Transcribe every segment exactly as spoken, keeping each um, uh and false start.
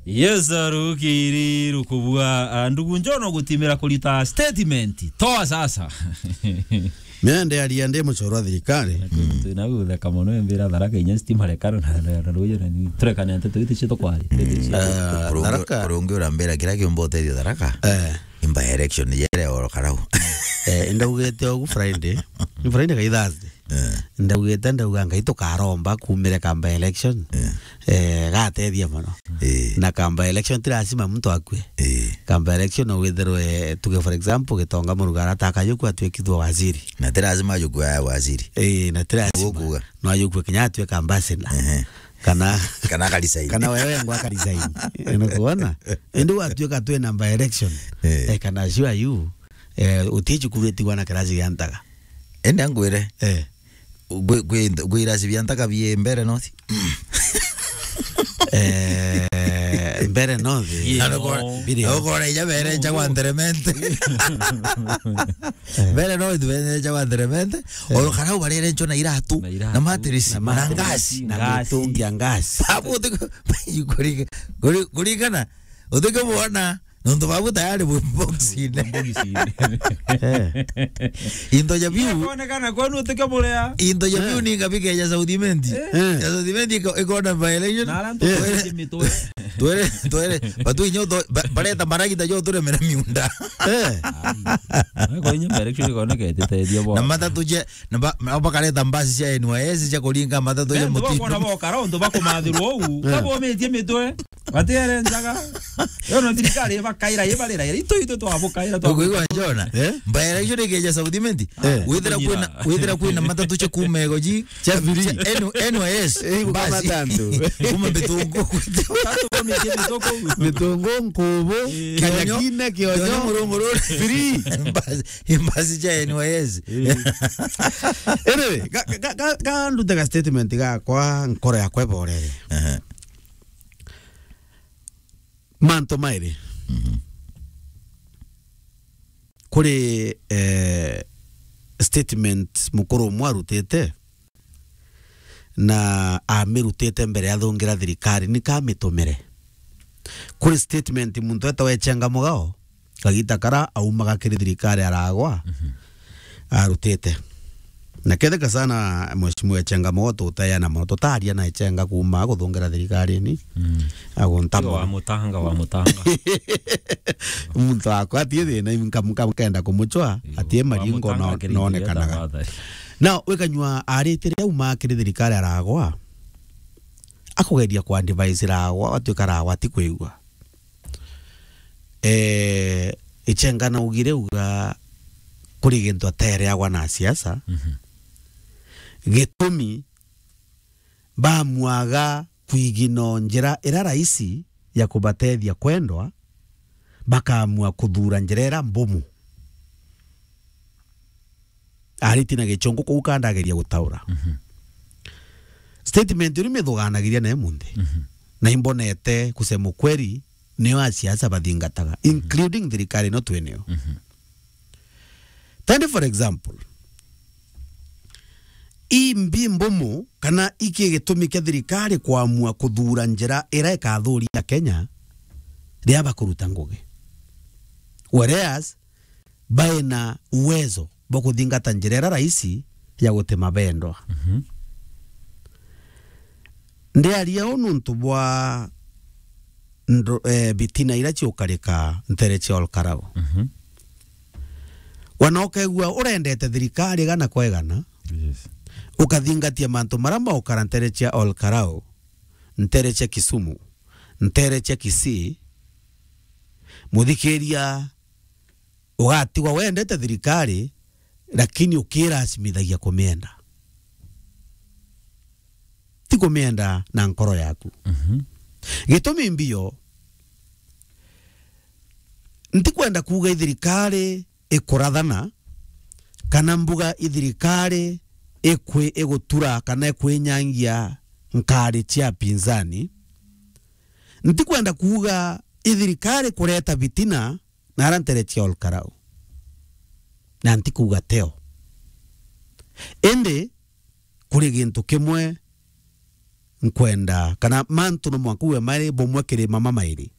Yes, rukiri rukubua, ah, ndugu Njono gutimira kurita statement. Toa sasa. Mende aria ndi mucoro wa thirikari. Twina gutheka mono, mbira Tharaka inya stima rekara na, na, na ruyo na ni turekanete twite cio tukwari. Ah, Tharaka. Kuri ungi urambira kira kiumba utethio Tharaka. Eh. Imba election yere oro karau. Eh, ndaugite ogu Friday. Ni Friday kai Thursday. Eh. Ndaugite, ndauga Ngai tukaromba kumire kamba election. Eh. Eh, gatethia mono. Eh. Na kamba election ti lazima muntu akue. Eh. Kamba election no withirwe, tuge for example, Gitonga Murugara ataka yuku atwikithwa waziri. Na ti lazima yuku ya waziri. Eh, na ti lazima. Gukuga. No yuku kinya atwika ambassador. Ehe. Kana kana akarisaini. Kana wewe ngo akarisaini. Unakuona? Indi watuika twina by election. Eh. Eh, kana sure you, eh, utichukulitigwa na kirasi gia Ntaga. Ende angwire. Eh. Gwi, gwi, gwi irasi bia Ntaga bie mbere nothi. Eh, mbere nothi. Biri. Ukora ija bere nja kwa ntheremente. Mbere no ithuenyeja wa ntheremente, eh, oro kana ubarere ncho na iratu, na iratu, na matirisi, na na matirisi, ngasi. Na ngasi. Mitungi ya ngasi. Babu, uti-, kuri-, kuri-, kuringana, utikubona, nontu babu tayari bwi boxine. Boxine. Eh. Into ja biu. Ikuonekana kwenu utike burea. Into ja biu, eh, ni ngabi keja South Imenti. Eh. Eh. Ya South Imenti iko-, ikona violation. Na ara ntu, eh, mitwe. Twere, twere, batu inyo to-, ba-, bareta maragita jo turemera miunda. Eh. Ai. Ko inyo direction iko neke tete dio bo. Na matatu je, na ba-, na bakareta mbasi cia N Y S cia kuringa matatu je. Eh, muti. Bakona bo kara untu bakumathirwo u. Eh. Babometie mitwe. Batiere njaga. Yo no thirikari bakaira, ibarira. Itu, itu twabukaira, twabukaira. Ukwigua Jona? Eh? By election ikeja South Imenti. Eh. Withira kwina, withira kwina matatu cia kuma ego ji. Cia free. Cia N-, N Y S. Eh, kuma basi. Matatu. Kuma Bitungu. Matatu kwa mitie Bitungu. Bitungu, Nkubu, eh, Kanyakine, Kionyo. Kionyo, Murunguru. Free. Mbasi, mbasi cia N Y S. Eh. Anyway, ga, ga, ga, ga ndute ga statement gakwa, nkoro yakwa iborere. Aha. Mantu mairi. Mhm. Kuri, eh, statement mukuru umwe arutite, na amirutite mbere ya thungira thirikari, ni kamitumire. Kuri statement muntu etawa Echenga Mugao, kagita kara aumaga kiri thirikari aragwa, mhm, arutite. Na ketheka sana Mheshimiwa Echenga Mugao tutayana mono, tutaria na Echenga kuma guthungira thirikari ni. Mm. Agunta mono. Wa mutanga, wa mutanga. Muntu akwa atie thina, nka-, nka-, nkenda kumuchwa, iyo, atie maringo no-, nonekanaga. Tafadhali. Na wikanyua aritire auma kiri thirikari aragwa, akugeria kwa advise ragwa, atuika ragwa ti kwigua. Eh, Echenga naugire uga kuri gintu atereagwa na siasa. Mhm. Gitumi bamwaga kwigina njira ira raisi ya kubatethia kwendwa, bakaamua kuthura njira ira mbumu. Ariti na gichungu kuu kandageria gutaura. Mhm. Statement iri mithugaanagiria na imunthi. Mhm. Na imbonete, kusema ukweli, niyo asiasa bathingataga, mhm, including thirikari ino twinio. Mhm. Tende for example, imbi mbumu kana iki gitumi kia thirikari kuamua kuthura njira ira ikathuria Kenya riria bakuruta ngugi. Whereas, baina uwezo bwa kuthingata njira ira raisi ya gutema bendwa. Mhm. Ndiaria uu nuntu bwa ndo-, eh, bitina ira ciukarika ntere cia Olkarau. Mhm. Wana ukegua urendete thirikari igana kwa igana, yes, ukathingatia mantu mara maukara ntere cia Olkarau, ntere cia Kisumu, ntere cia Kisii, muthikiria ugatigwa wendete thirikari, lakini ukirasimithagia kumienda. Ti kumienda na nkoro yaku. Mhm. Gitumi mbio, ntikwenda kuuga ithirikari ikurathana, kana mbuga ithirikari ikwi-, igutura, kana ikwinyangia nkari cia pinzani. Ntikwenda kuuga ithirikari kureta bitina, na ara ntere cia Olkarau. Na ntikuuga teo. Indi kuri gintu kimwe nkwenda, kana mantu no mwanka uwe mairi bumwe kiri mama mairi.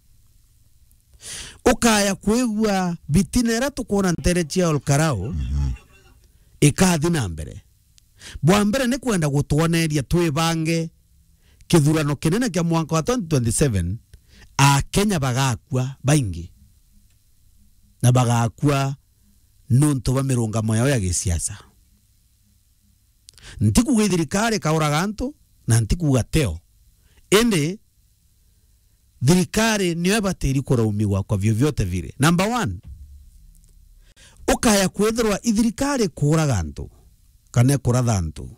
Ukaya kwigua bitina iria tukwona ntere cia Olkarau, mhm, ikathi na mbere. Bwa mbere ni kwenda gutwoneria twibange kithurano kinene kia mwanka wa twenty twenty-seven, Akenya bagakua baingi, na bagakua nuntu bwa mirungamo yao ya gisiasa. Ntikuuga ithirikari ikauraga antu, na ntikuuga teo. Indi thirikari niyo ibatiri kuraumigwa kwa vyovyote vile. Number one, ukaya kwithirwa ithirikari ikuuraga antu, kana ikuratha antu,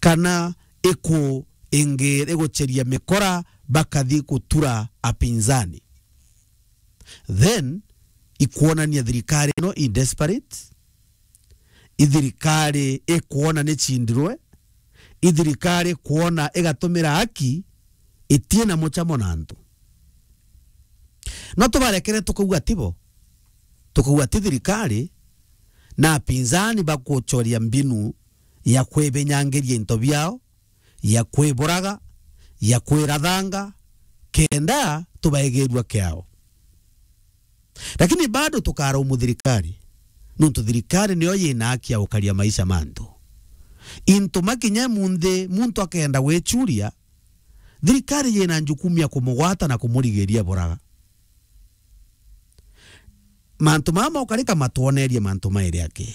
kana iku-, ingi-, igucheria mikora bakathi gutura apinzani, then ikwonania thirikari ino i desperate, ithirikari ikwona ni cindirwe, ithirikari ikwona igatumira haki itina muchamo na antu. No tubarekere tukauga tibo, tukauga ti thirikari, na apinzani bakuchoria mbinu ya kwibinyangiria into biao, ya kwiburaga, ya kwirathanga, kenda tubaigirua kiao. Lakini bado tukaraumu thirikari, nuntu thirikari niyo yina haki ya gukaria maisha ma antu. Into makinya munthi, muntu akenda gwichuria, thirikari yina njukumu ya kumugwata na kumurigiria buraga. Mantu mama ukarika matwonerie mantu mairi aki.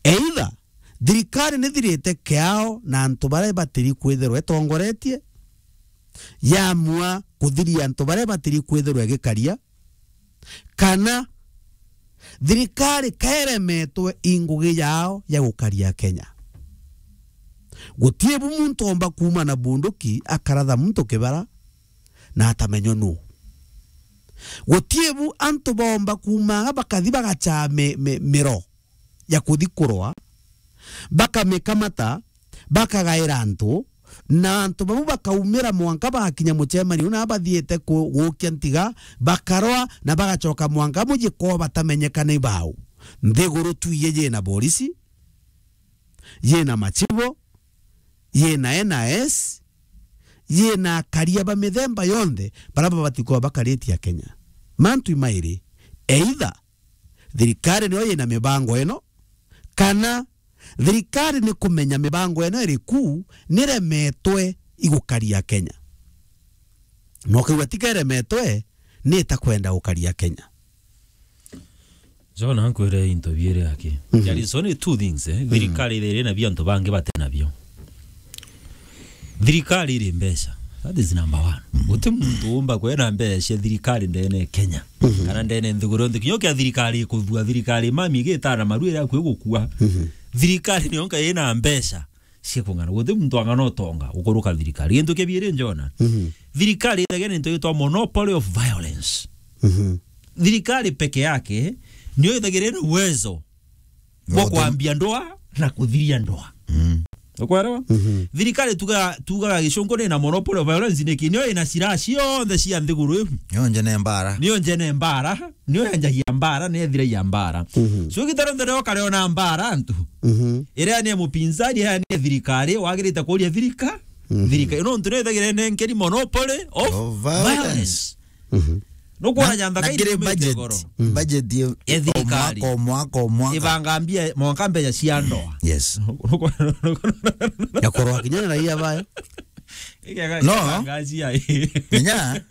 Either thirikari nithirite kiao na antu baria batiri kwithirwa itongoretie, yamua kuthiria antu baria batiri kwithirwa igikaria, kana thirikari kaeremetwe i ngugi yao ya gukaria Kenya. Gutie bu muntu omba kuuma na bunduki akaratha muntu kibara na atamenywa nu. Gutie bu antu bomba kuuma anga bakathi bagachaa mi-, mi-, miro ya kuthi kurwa, bakamikamata, bakagaira antu, na antu babu bakaumira mwanka bagakinya muchemanio na bathiite ku-, gukia ntiga, bakarwa na bagachoka mwanka muji kwao batamenyeka ni bau. Nthiguru tu iye yina borisi, yina machibo, yina N I S, yina akaria ba mithemba yonthe, bara babati kuba bakaritie Akenya. Mantu imairi, either thirikari niyo yina mibango ino, kana thirikari ni kumenya mibango ino iriku niremetwe igukaria Kenya. Na ukaigua ti keremetwe, ni itakwenda gukaria Kenya. John, ankwire into biiri aki. Mhm. There is only two things, eh? Mhm. Thirikari iri na bio antu bangi bati nabio. Thirikari iri mbeca. That is number one. Mhm. Guti muntu umba kwena mbeca cia thirikari ndene Kenya. Mhm. Kana ndene nthiguru yonthe. Kinya kia thirikari ikuthua, thirikari mami igitana maru iria akwi gukua. Mhm. Thirikari niyo nka ina mbeca cia kung'ana. Guti muntu ang'ana utonga gukuruka thirikari. Gintu kia biiri njona. Mhm. Thirikari ithagia ni into gitwa monopoly of violence. Mhm. Thirikari peke yake niyo ithagira ina uwezo bwa kwambia ndoa na kuthiria ndoa. Mm. Ukwerewa? Mhm. Thirikari tuga-, tugaga gicungu ni na monopoly of violence niki? Niyo ina silaha cionthe cia nthiguru iu. Niyo njene mbara. Niyo njene mbara, niyo yanjagia mbara, niyo ethiragia mbara. Mhm. So, igita rionthe riria ukariona mbara antu. Mhm. Iria ni mupinzani, iria ni thirikari, wagirite kuria thirika-, mhm, thirikari. Nontu niyo ithagira inenkeri monopoly of violence. Mhm. Nukwona na, jantha na kairi kiri mite budget, goro. Mm. Budget ye-, ya thirikari. O mwaka, o mwaka, o mwaka. Ibanga mbia, mwanka mbeca cia ndoa. Yes. Ya kurwa kinya na raia bayo. Igega no. Ibanga cia. Menya,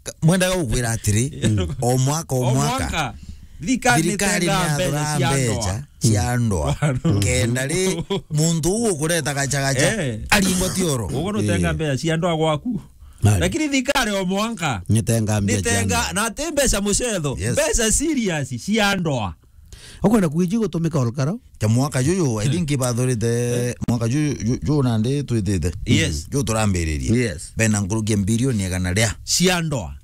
ka-, mwendaga gukwira atiri, mm, o mwaka, o mwaka. O mwaka. Thirikari nitenga mbeca cia ndoa. Thirikari niathura mbeca cia ndoa. Mm. Kenda ri, muntu uu ukureta gachagacha, eh, aringwa ti oro. Uguo nutenga mbeca cia ndoa gwaku. Mali. Lakini thirikari o mwanka. Nitenga mbia nitenga, cia ndoa. Na ti mbeca mucetho. Yes. Mbeca serious cia ndoa. Ukwenda kuiji gutumika olkara? Kya mwaka juju, I think bathurite, eh, mwaka juju, ju-, juju nandi twithite. Yes. Juju turambiririe. Yes. Bena nkuruki ya bilioni igana ria. Cia ndoa.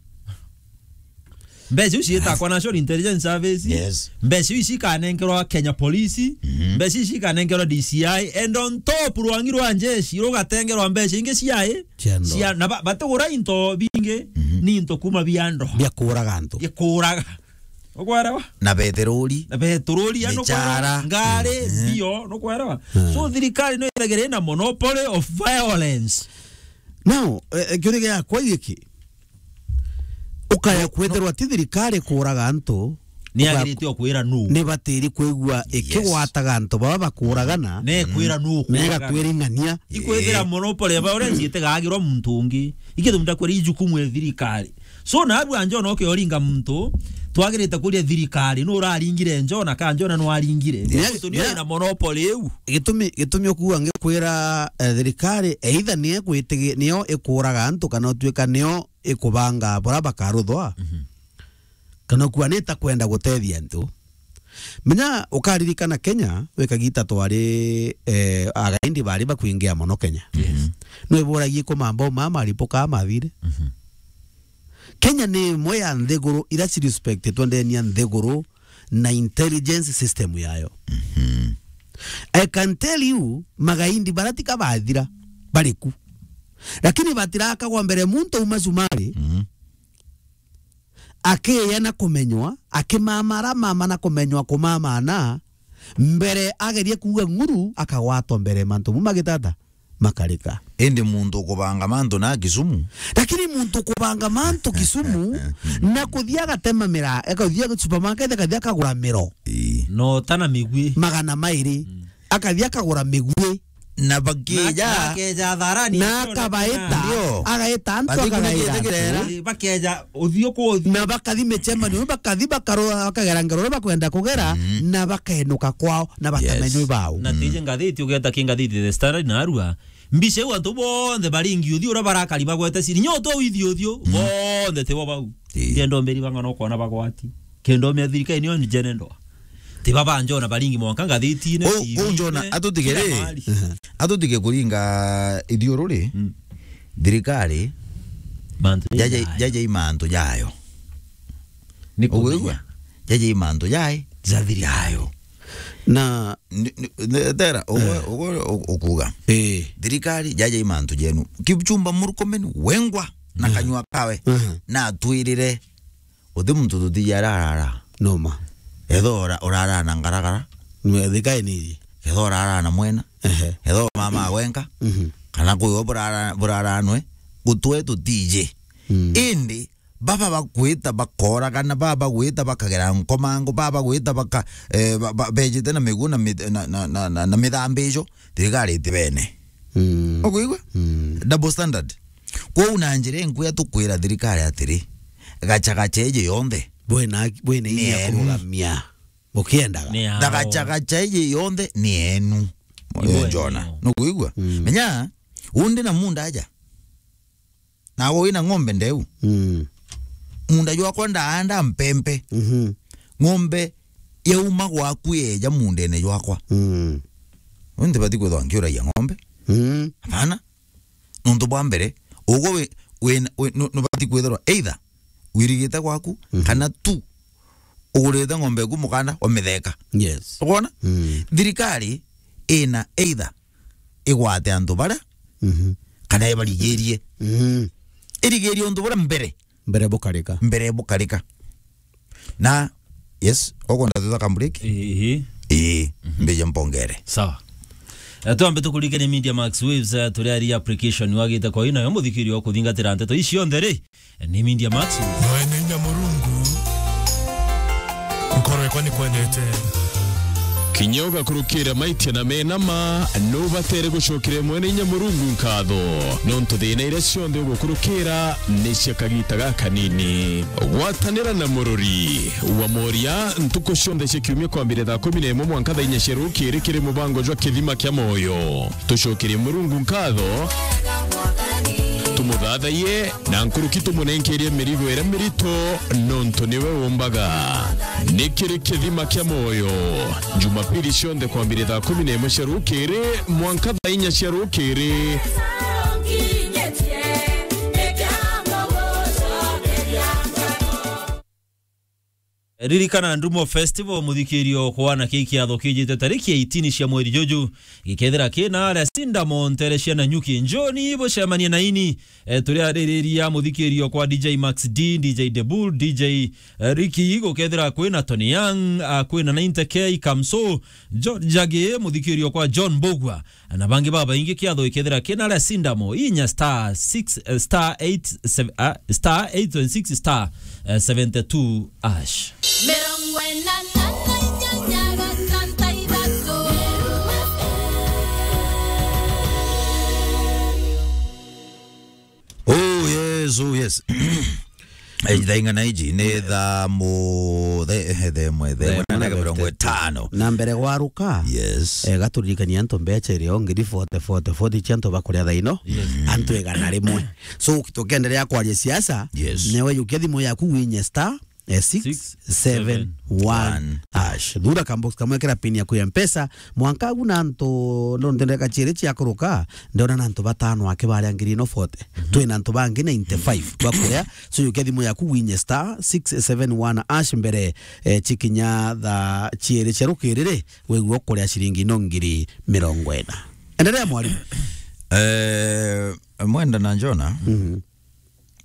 Mbeca iu ciitakwa National Intelligence Service. Yes. Mbeca iu cikanenkerwa Kenya Police. Mhm. Mbeca iu cikanenkerwa D C I. And on top, rwangi rwa njeshi rugatengerwa mbeca ingi ciai. Cia ndoa. Cia, na ba-, batigura into bingi, mhm, ni into kuma bia ndoa. Bia kuuraga antu. Bia kuuraga. Nukwelewa? Na beterori. Na beterori, nukwelewa? Michara. Ngari, mhm, mbio, nukwelewa? Hmm. So, thirikari no ithagire na monopoly of violence. Now, eh, eh, kiuria giakwa giki. Ukaya, no, no, kwithirwa ti thirikari kuraga antu, ni uka-, agirite o kwira nu. Ni batiri kwigua, yes, ikigwataga antu baba bakuragana. Ne kwira nu. Ne kuuragana. Igakwira ing'ania. Ikwithira, eh, monopoly ya violence itigagirwa muntu ungi. Ikithumda kwira ijukumu ya thirikari. So, nabu anja ona ukioringa muntu, twagirite kuria thirikari, nu uraringire Njona, ka Njona nu aringire? Yes, muntu ni, yeah, ena monopoly iu. Gitumi, gitumi ukuga ngikwira, eh, thirikari, either ni ekwitigi-, niyo ikuraga antu, kana utuika niyo ikubanga bura bakaruthwa. Mhm. Kana ukua ni itakwenda gutethia antu. Menya, ukaririkana Kenya, we kagita twari, eh, againdi bari bakwingia mono Kenya. Yes. Mhm. Nwe buragie kumamba uma maripo ka mathire. Mhm. Kenya ni imwe ya nthiguru ira ci respectitwe ndeni ya nthiguru na intelligence system yayo. Mhm. I can tell you, magaindi bara tika bathira, bari ku. Lakini batirakagwa mbere muntu uma cumari, mhm, akiya na kumenywa, akimamara mama na kumenywa kumamana, mbere agerie kuuga ng'uru, akagwatwa mbere mantu mau magitata makarika. Indi muntu ukubanga mantu na Kisumu. Lakini muntu ukubanga mantu Kisumu, na kuthia agatema mira-, akathia supermarket, akathia akagura miro. Ii. No tana migwi. Magana mairi. Mm. Akathia akagura migwi. Na bakeja. Na, na akeja tharani, na akabaita, ndio, agaita antu, bathi akagaira. Kunigite kirera. Ii, bakeja uthio kwa uthio. Na bakathi micemanio, bakathi bakarora, bakagera ngero iria bakwenda kugera, mm, na bakaenuka kwao, na batamenya, yes, ibao. Na, mm, tije ngathiti, ugeta ki ngathiti The Standard na Arua, mbica iu antu bonthe baringi uthio uria barakari bagwete ciri, nyo to uithio uthio, mm, bonthe tibo bau. Ii. Ndienda umbiri bang'ana ukona bagwati. Kenda umia thirikari niyo njene ndoa. Tiba ba Njona baringi mwanka ngathitine, uu, uu Njona, TV-ine, atutige kila ri, mahali. Atutige kuringa ithiururi, mm, thirikari, mantu jaja, jayo. Jaja i mantu jayo. Ni kumenya. Uguigua? Jaja i mantu jai, ja thirikari. Jayo. Na ni, ni, ni, tera, ugu, eh, ugu, u-, ukuga. Eh. Thirikari, jaja i mantu jenu. Kipchumba Murkomen wengwa na, mhm, kanyua kawe. Mhm. Na atwirire. Uti muntu tutiji aria arara. Noma. Etho ura-, urara na ngaragara. Nwe thika iniji. Etho urara na mwena. Ehe. Etho mama wenka. Mhm. Kana kwiwe burara, burara nwe. Gutwe tutiji. Mm. Indi, baba bagwita bakoragana, baba bagwita bakagera nkomango, baba bagwita baka-, eh, ba-, ba-, bejite na migu na mi-, na, na, na, na, na mithambi ijo, thirikari itibene. Mm. Ukuigua? Mm. Double standard. Kwou na njira inkuya tukwira thirikari atiri, gacha gacha iji yonthe. Bwina, bwina ni inya enu. Kurugamia. Bukiendaga. Ni yao. Na gacha gacha iji yonthe ni enu. Ni bwenu. Njona. Nukuigua? Mm. Menya, undi na munda aja. Nawe wina ng'ombe ndeu. Mm. Munda jwakwa ndaanda mpempe. Mhm. Ng'ombe yauma gwaku yeja mundene jwakwa. Mm. Nti bati kwithwa nkiuragia ng'ombe. Mm. Hapana. Nontu bwa mbere, ugwe wi-, wi-, wi-, nu-, nubati kwithirwa either wirigite gwaku, mhm, kana tu ugurite ng'ombe eku mukanda wa mitheka. Yes. Ukwona? Mm. Thirikari ina either igwate antu baria, mhm, kana ibarigirie. Mhm. Irigirie untu buria mbere. Mbere bukarika. Mbere bukarika. Na, yes, ukwenda tuthaka break? Ii. Ii, mhm, mbije mpongere. Sawa. Eh, twambe tukurikanie Media Max Waves, eh, turiaria application wagite kwa ina yo muthikiri wa kuthingatira nteto ici cionthe ri. Ni Media Max. Mwene inya Murungu. Nkorwe kwa ni kwendete. Kinya ugakurukira maitia na mena ma, nubatere gucokeria Mwene inya Murungu nkatho. Nontu thina iria cionthe ugukurukira ni cia kagita gakanini. Gwatanira na murori wa moria ntuku cionthe cia kiumia kwambire thaa kumi na imwe mwanka thaa inya cia rukiri kiri mubango jwa Kithima kia Moyo. Tucokerie Murungu nkatho, tumuthathaiye, na nkuruki tumunenkerie mirigo iria mirito, nontu niwe umbaga. Ni kiri Kithima kia Moyo, Jumapili cionthe kwambire thaa kumi na imwe cia rukiri mwanka thaa inya cia rukiri. Ririkana Ndumo Festival, muthikirio kwana ki kiatho kijite tariki eighteen cia mweri juju, gikethira kina aria Sindamo ntere cia Nanyuki. Njoni bucemanie na ini, eh, turi aririria muthikirio kwa D J Max D, D J The Bull, D J, eh, Ricky, gukethira kwina Tony Young, ah, kwina ninety K, Kamso, George Jage, muthikirio kwa John Mbugua, na bangi babaingi. Kiatho ikethira kina aria Sindamo, inya star six, eh, star eight, sev-, ah, star eight twenty-six star, eh, seventy-two ash. Mirongo ina na inyanya gatanta ithatu. Oh yes, oh yes. Eh, thaa ing'ana iji? Ni thaa mu-, the-, eh, the imwe, the imwe na ndagika mirongo itano. Na mbere gwaruka, yes, eh, gaturirikania antu mbecha irio ngiri forty, forty, forty cia antu bakuria thaa ino. Yes. Antu igana rimwe. So, tukiendelea kwaria siasa, yes, newe yukia thimu yaku winye star, eh, six seven one hash. Thura kambox kamwe kira pin yaku ya Mpesa, mwanka agu na antu, ndo ndendeka chiere chiakuruka, ndona na antu batano ake baria ngiri ino forty. Mhm. Twina antu bangi ninety-five bakuria. So, yukia thimu yaku winye star six seven one hash mbere, eh, chikinya thaa chiere cia rukiriri, wigua ukuria ciringi ino ngiri mirongo ina. Endelea, mwalimu. Eh, Mwenda na Njona, mhm,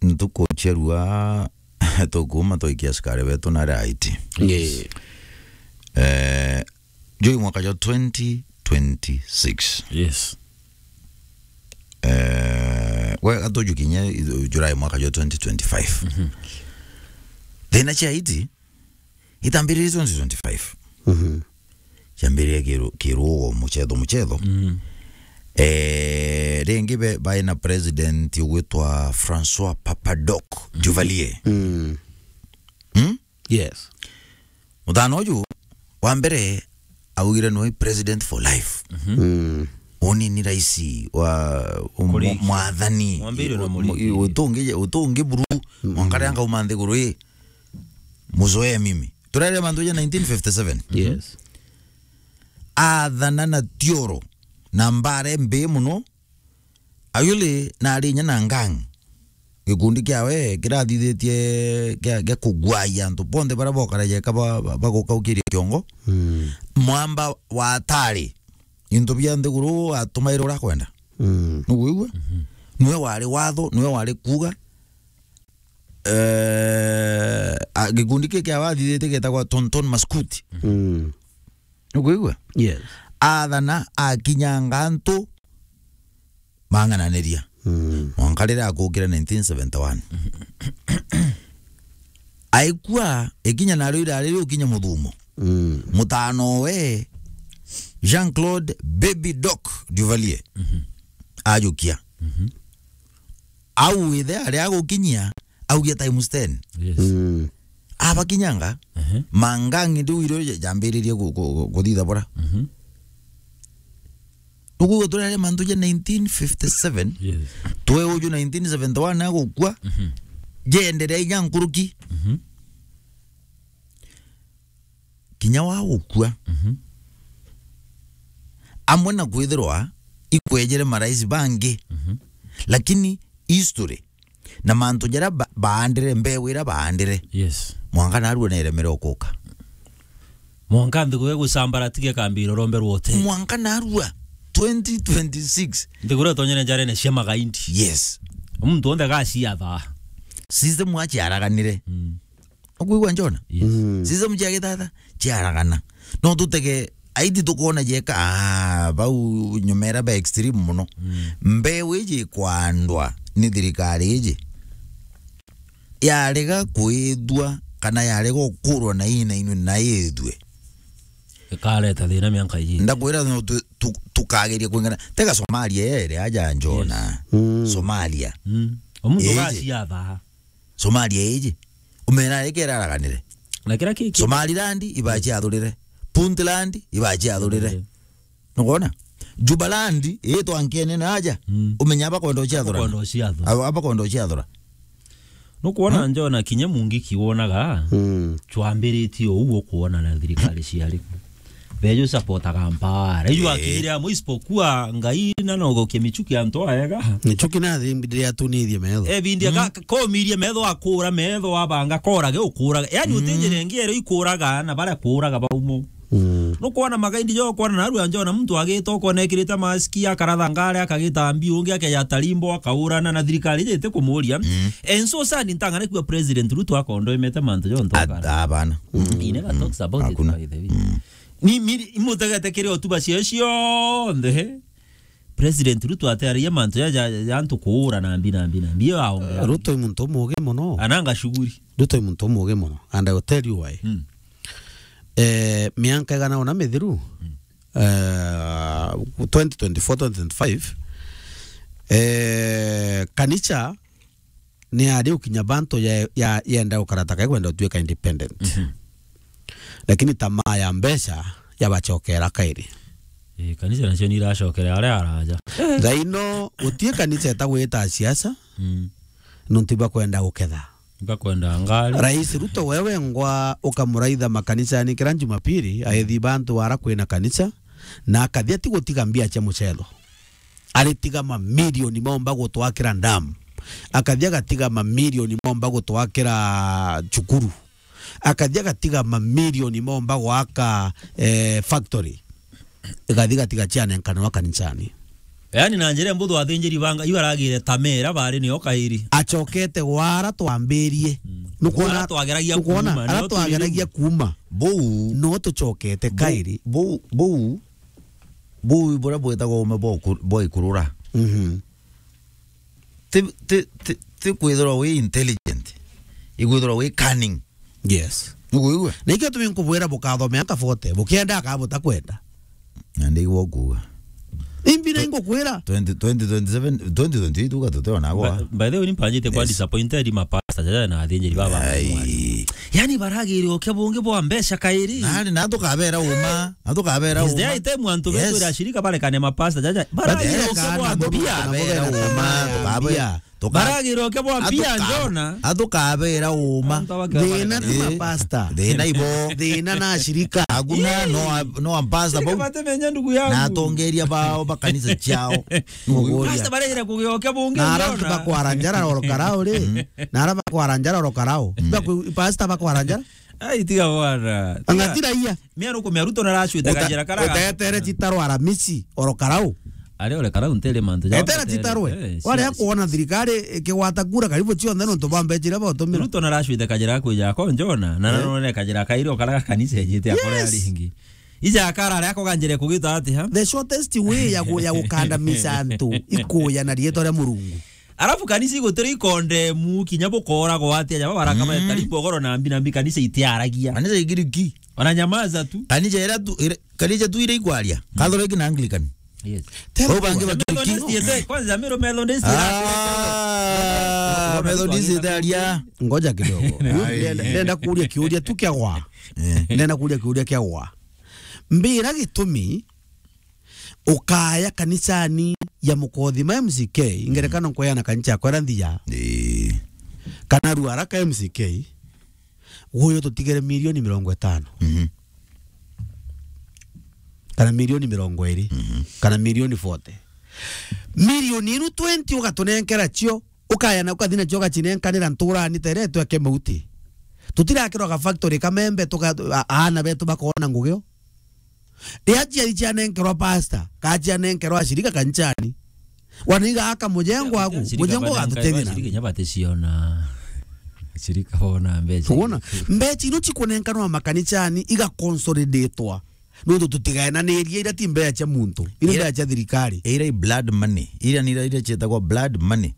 ntuku cia rua tukuuma twaikia askari betu na aria aiti. Yes. Eh, juu mwaka jwa twenty twenty-six. Yes. Eh, we gatuju kinya July mwaka jwa twenty twenty-five. Mhm. Thina cia aiti itambiririe twenty twenty-five. Mhm. Ciambiririe kiru-, kirugo, muchetho, muchetho. Mm. Eh, ringi be-, baina president ugwitwa Francois Papadoc, mhm, Duvalier. Mm. Hmm? Yes. Muthana uju wa mbere augire nwe president for life. Mhm. Mm. Uni ni raisi wa, um, Kuriki. Mwathani. Mwambire na muriki. Utungi, utungi buru. Mm. Mwanka ria ngauma nthiguru ii, muzoee mimi. Turarire mantu ja nineteen fifty-seven. Yes. Athana na tioro na mbara mbii muno. Ayuli na ari inya na gang. Gikundi kiawe kirathithitie kia, kia kuguaia antu bonthe baria bokaragia ka ba, ba, bagukaukiria kiongo. Mm. Mwamba wa atari into bia nthiguru atumaire uria akwenda. Mm. Nukwigua? Mhm. Niwe wari watho, niwe wari kuuga. Eh, a, gikundi kii kiawe athithitie gietagwa Tonton Maskuti. Mm. Nukwigua? Yes. Athana akinyanga antu mang'ananiria. Mm. Mwanka riria akukire nineteen seventy-one. Aikua, ikinya nario irari riu ukinya muthumo. Mm. Mutano we, Jean-Claude Baby Doc Duvalier. Mhm. Ajukia. Mhm. Au ithe aria agukinyia, augia times ten. Yes. Mm. Abakinyanga, ehe, mangangi ndiu irio ja-, jambiririe ku-, ku-, ku-, kuthitha bora. Mhm. Nukwigua turere mantu ja nineteen fifty-seven, yes, twe uju nineteen seventy-one agukua, mhm, jenderea inya nkuruki. Mhm. Kinya wa gukua, mhm, amwe na kwithirwa ikwejere marais bangi, mhm, lakini history na mantu jaria ba-, baandire, mbeu iria baandire, yes, mwanka narua neremere ukuka. Mwanka nthiguru igucambaratika ikambira urombe rwote. Mwanka narua twenty twenty-six. Nthiguru itonyere njarene cia magaindi. Yes. Muntu onthe agaciatha. System aciaraganire. Mm. Ukwigua njona? Yes. Mm. System cia gitata ciaragana. No tutege aiti tukwona jeka, ah, bau nyumera ba extreme muno. Mm. Mbeu iji ikwandwa ni thirikari iji. Yarega kwithua kana yarega ukurwa na ina inwe na ithue. Ikareta thina mianka iji. Ndakwira no tu-, tu-, tukageria kwingana. Tega Somalia ere aja njona. Yes. Mm. Somalia. Mm. Omuntu iji agaciatha. Somalia iji. Umena ikera araganire. Na kira kiki. Somaliland ibachi athurire. Puntland ibachi athurire. Athurire. Nukwona? Jubaland itwa nkene na aja. Mm. Umenya abakwenda uciathura. Abakwenda uciathura. Aba-, abakwenda uciathura. Nukwona, hmm? Njona kinya mungiki wonaga, hmm, chwambiritie uu ukwona na thirikari ciari. Beju supportaga mpara. Iju Eh. akire amwe isipokuwa Ngai na no gokia michuki antu aega. Michuki na thimbire atunithie metho. E, bindia ka-, komirie metho akura metho abanga korage ukuraga. Yani Mm. utinjire ngiere ikuraga na bara kuraga baumo. Mm. Nukwona magaindi jo kwona naru anjona muntu agita ukona ekirite maski akaratha ngare akagita mbi ungi akeja tarimbo akaurana na thirikari ijite kumuria. Mm. And so sad ntangane kwa President Ruto akondo imete mantu jo ntokara. Abana. He never talks about it, Hakuna. by the way. Mm. Ni, ni, imutegete kiri otuba cio cionthe. President Ruto atearagia mantu ja, ja, ja antu kuura na mbi, na mbi, na mbi. Iyo aongea. Ruto i muntu umugi muno. Ananga shughuli. Ruto i muntu umugi muno. And I will tell you why. Mm. Eh, mianka igana ona mithiru, Mm. eh, twenty twenty-four, twenty twenty-five, eh, kanisa ni ari ukinya bantu ya, ya, yenda ukarata kai kwenda utuika independent. Mhm. Lakini tamaa ya mbeca yabacokera kairi. Eh, kanisa nacio ni iracokera aria araja. Thaino utie kanisa etagwita siasa, Mm. nontu bakwenda guketha. Bakwenda ngari. Rais Ruto wewe ngwa ukamuraitha makanisani kira Jumapili, aethi bantu ara kwina kanisa, na akathia ti gutiga mbia cia mucelo. Aritiga mamilioni maomba gutwakira dam. Akathia gatiga mamilioni maomba gutwakira cukuru. Akathia gatiga mamilioni maomba gwaka, eh, factory. Igathi gatiga cianenkanwa kanisani. Yani na njira mbuthu athinjiri banga, ibaragire tamera bari nio kairi. Acokete gwara twambirie. Mm. Nukwona, Ara twageragia nukwona, kuuma, ara nio turi twageragia riu. Kuuma. Bou. No tucokete kairi. Bou, bou, bou, bura bwetagwo ume bwa uku-, bwa ikurura. Mhm. Ti, ti, ti, ti kwithirwa wi intelligent. Ikwithirwa wi cunning. Yes. Nukuigua? Na ikio tumi nkubwira bukathomea aka forty, bukienda aka butakwenda. Na ndigwa kuuga. Imbi na ingukwira. Twenty, twenty twenty-seven, twenty twenty-eight uga tuteona gwa. By, by the way, ni mpanjite kwa Yes. disappointed ma pastor jaja na athinjiri baba. Ai. Yani baragire okia bungi bwa mbeca kairi. Nani na tukabera uma, na tukabera Is there uma. A time antu Yes. betu ira shirika barekane ma pastor jaja? Baragire Yes. okia bwa Antu mbia. Tukabera uma, tukabera. Mbia. Tuka- Baragirwo ke bwa mbia Atuka-, njona. Atukabera uma. Antu abake Thina ti Eh. mapasta. Thina ibo. Thina na ashirika. Aguna no a-, no a pastor Shirika bo. Batemenya ndugu yangu. Na atongeria bao ba kanisa ciao. Muguria. Pastor baragire kugiokia bungi Na ara njona. Bakwara njara oro karao ri. Mm. Na ara bakwara njara oro karao. Mm. Bakwi-, pastor bakwara njara. Ai, tiga bwana. Tiga. Angatira iya. Mia nukumia Ruto naracwite Uta-, kajira karaga. Utetere citaro aramisi, oro karau. Ari ore karau ntere mantu ja Etera citaro we. Eh, wale sia-, akuona thirikari ikigwata kura karibu cionthe nontu bwa mbeca iria botumira. Ruto naracwite kajira kwija ko njona, na Eh. narone kajira kairi okaraga kanisa ejite akore Yes. aringi. Ija akara aria akoganjire kugita ati ha? The shortest way ya gu-, ya gukandamiza antu ikuya na rietwa ria Murungu. Arafu kanisa igutira ikondemu kinya bukora gwate aja babarakama Mm. tari bogoro na mbi na mbi kanisa itiaragia. Kanisa igiriki. Wananyamaza tu. Kanisa ira tu, ira, kanisa tu ira ikwaria. Mm. Catholic na Anglican. Yes. Tell Bau me bangi what. Bakiriki. Methodist yete, kwanza Meru Methodist Ah, ira- Methodist itaria. Ngoja kidogo. Ai. Ndenda, ndenda kuuria kiuria tu kia gwa. Eh. Ndenda kuuria kiuria kia gwa. Mbira gitumi ukaya kanisani ya Mukothima M C K, ingerekano Mm. nkweyana kanisa yakwa ira nthia. Ii. Kana Ruaraka M C K, guyo tutigere milioni mirongo itano. Mhm. Kana milioni mirongo iri. Mhm. Kana milioni forty. Milioni inu twenty ugatunenkera cio, ukaya na ukathi nacio ugacinenkanira nturani tere tweke mauti. Tutirakirwa ga factory kamembe tuka-, a-, aana betu bakona ngugio. Ria ciari cianenkerwa pastor, ka cianenkerwa ashirika kanisani. Waniga aka mujengo waku, mujengo gatutethia na. Shirika nyabate ciona. Shirika bona mbeca. Tuona, mbeca ino cikunenkanwa makanisani, iga consolidatwa. Nundu tutigaenaniria ira ti mbeca cia muntu, ira Ira mbeca cia thirikari. Ira i blood money, ira ni ira, ira cietagwa blood money.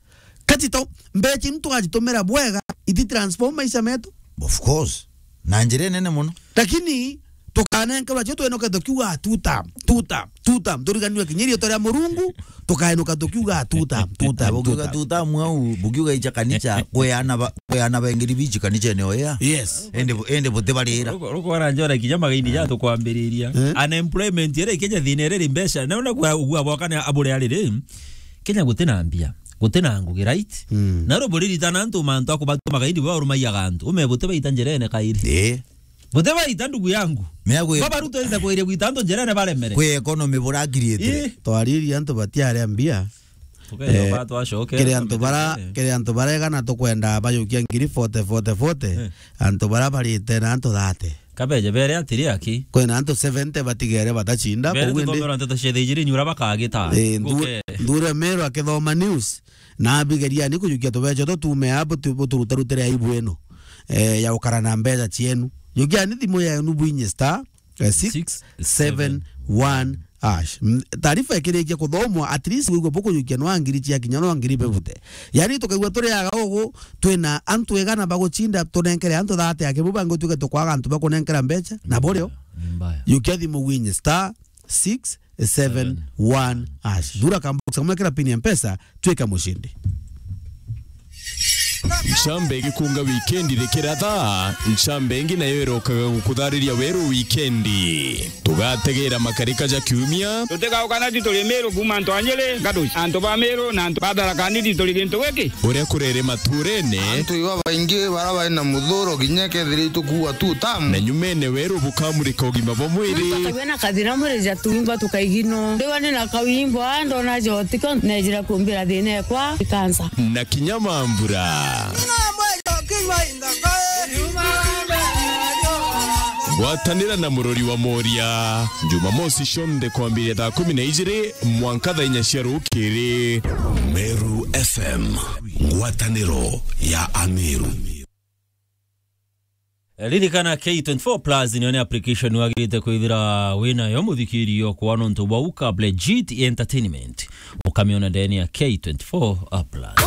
Kati to, mbeca inu tugacitumira bwega, iti transform maisha metu. Of course. Na njira nene muno. Lakini, tukanenkerwa cio twenoke tukiuga tuta, tuta, tuta. Turiganirwe kinya rietwa ria Murungu, tukaenuka tukiuga tuta, tuta, Bukiuga tuta. Tuta mwau, bukiuga icha kanisa, kwe ana ba, kwe ana bengiri bichi kanisa ni oya. Yes. Ende bu-, ende butibarira. Ruko, ruko ara njora kinya magaini ja tukwambiriria. Eh? Unemployment ere Kenya thina ere ri mbeca. Na una kwa ugua bwakane abure ari ri. Kenya gutina mbia. Gutina ngugi, right? Mm. Na ro buriritana antu mantu akubatuma gaindi bwa urumaiya gantu. Ume buti baita njirene kairi. Eh. Buti baita, ndugu yangu. Mea gwi- Baba Ruto ita kwiria gwita antu njerere baremere. Kwi economy buragirietire. Ii. Twaririe antu batiaria mbia. Tukeja Eh, ba twacoke kiri antu bara, tumetere. Kiri antu bara igana tukwenda bajukia ngiri forty, forty, forty. Eh. Antu bara barite na antu thirty. Kabeje bere atiri aki. Kwina antu seventy batigere batacinda, Bere kou indi tukomera nteto cia thijiri nyura bakagita. Eh, ndu-, Guke. Ndure Meru akithoma news. Na abigeria ni kujukia tubeca tu tume a butu-, buturutarutire aibu ino, eh, ya ukara na mbeca cienu. Jukia ni thimu yenu bwinye star, eh, six seven one hash. Mm, taarifa ikirikia kuthomwa, at least wigwe bukujukia no ngiri cia kinya no ngiri bebute. Yani tukaigua turi aga ugu, twina antu igana bagucinda tunenkere antu thirty aki, bu bangi tuke tukwaga antu bakunenkera mbeca, na burio. Ni mbaya. Jukia thimu winye star six seven one hash. Thura kambox kamwe kira pin ya Mpesa, twika mushindi. Ncamba igikunga wikendi rikiratha, ncamba ingi nayo irokaga gukuthariria weru wikendi. Tugategera makarika ja kiumia. Tutigauka na tituri Meru kuuma antu a Nyeri, Gaduci, antu ba Meru na antu ba Tharaka Nithi turi gintu giki. Uria kurere maturene. Antu iba baingi bara bari na muthuro kinya kethira itukuua tu tamu. Na nyumene weru bukamurika ugima bwa mwiri. Tukagua na kathina mwiri ja tuimba tukaigino. Ndigwa ni na kawimbo, ndona jotiko, nejira kumbira thina ekwa, ikansa. Na kinya mambura. Gwatanira na murori wa Moria, Jumamosi cionthe kwambiria thaa kumi na ijiri mwanka thaa inya cia rukiri. Meru F M, ngwataniro ya Ameru. Ririkana K twenty-four Plus niyo ni application wagirite kwithira winayo, muthikiri okwa nontu bwa uka legit entertainment. Ukamiona ndeni ya K twenty-four Plus.